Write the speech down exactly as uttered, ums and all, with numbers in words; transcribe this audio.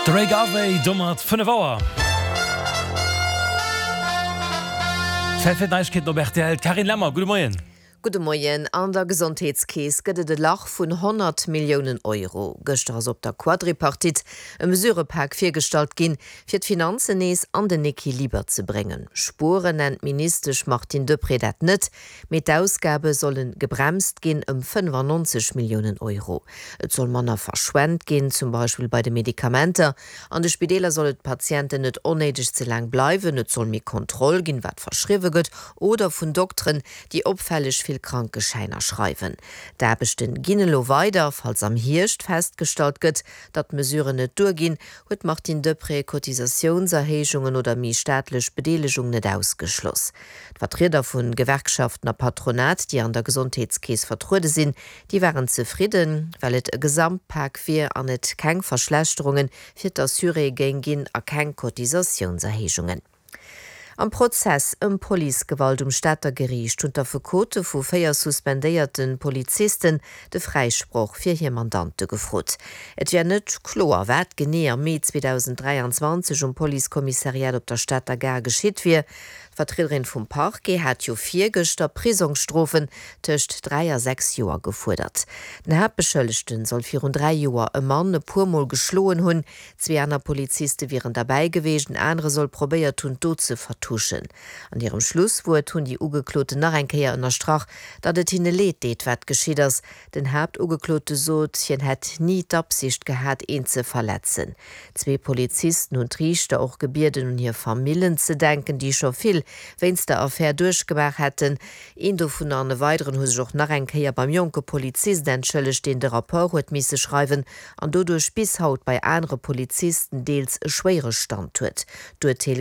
De Ray Garvey domat fënnef Auer. Zäit fir d'Neiegkeeten op rtl. D'Carine Lemmer, gudde Moien. Gudde Moien. An der Gesondheetskeess gëtt et e Lach vun honnert Milliounen Euro. Gëschter ass op der Quadripartite e Mesurëpak virgestallt ginn, fir d'Finanzen nees an den Equiliber ze bréngen. Spueren nennt d'Ministesch Martine Deprez dat net, mee d'Ausgabe solle gebremst ginn ëm fënnefannonzeg Milliounen Euro. Et soll manner verschwent ginn, zum Beispill bei de Medikamenter. An de Spideeler solle d'Patienten net onnéideg ze laang bleiwen, et soll méi Kontroll ginn, wat verschriwwe gëtt, oder vun Dokteren, déi opfälleg vill Krankeschäiner schreiwen. D'Aarbechte ginn elo weider. Falls am Hierscht festgestallt gëtt, datt d'Mesuren net duerginn, huet d'Martine Deprez Cotisatiounserhéijungen oder méi staatlech Bedeelegung net ausgeschloss. D'Vertrieder vu Gewerkschaften a Patronat, déi an der Gesondheetskeess vertruede sinn, déi waren zefridden, well et e Gesamtpak wier an et keng Verschlechterunge fir d'Assuréë géing ginn a keng Cotisatiounserhéijungen. Am Prozess ëm Policegewalt um Stater Geriicht hunn d'Affekote vu véier suspendéierte Polizisten de Fräisproch fir hir Mandante gefrot. Et wier net kloer, wat genee am Mee zweedausenddräianzwanzeg um Policekommissariat op der Stater Gare geschitt wier. D'Vertriederin vum Parquet hat jo virgëschter Prisongsstrofen tëscht dräi a sechs Joer gefuerdert. Den Haaptbeschëllegten soll virun dräi Joer e Mann e puer Mol geschloen hunn. Zwee aner Poliziste wieren derbäi gewiescht, en anere soll probéiert hunn, d'Dot ze vertuschen. An hirem Schlusswuert hunn déi Ugekloten nach eng Kéier ënnerstrach, datt et hinne leed deet, wat geschitt ass. Den Haaptugeklote sot, hien hätt ni d'Absicht gehat, een ze verletzen. Zwee Polizisten hunn d'Riichter och gebieden, un hir Famillen ze denken, déi scho vill wéinst der Affär duerchgemaach hätten. Een dovunner an e weideren hu sech och nach eng Kéier beim jonke Polizist entschëllegt, deen de Rapport huet misse schreiwen an doduerch bis haut bei anere Polizisten deels e schwéiere Stand huet. D'Urteel gëtt.